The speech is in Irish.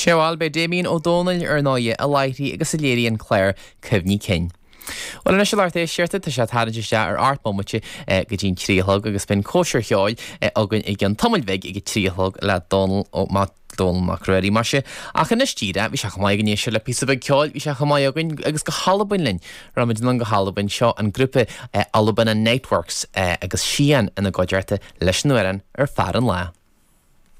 Sea bhuel, b'é Damien Ó Dónaill, ar ndóighe, a láithrigh agus a léirigh an clár Cuimhní Cinn. Bhuel anois a lucht éisteachta, tá sé ag tarraingt isteach ar 8 bomaite go dtí'n 3 a chlog agus beidh an cóisir cheoil againn i gcionn tamaill bhig ag a 3 a chlog le Dónal Ó Mac Dónal Mac Ruairí, mar sin. Ach anois díreach, bhí sé chomh maith againn éisteacht le píosa beag ceoil, bhí sé chomh maith againn agus go hAlbain linn. Rachaimid anonn go hAlbain, seo an grúpa Albanna Niteworks agus Sian ina gcuideachta leis an amhrán Ar Fear an Lá.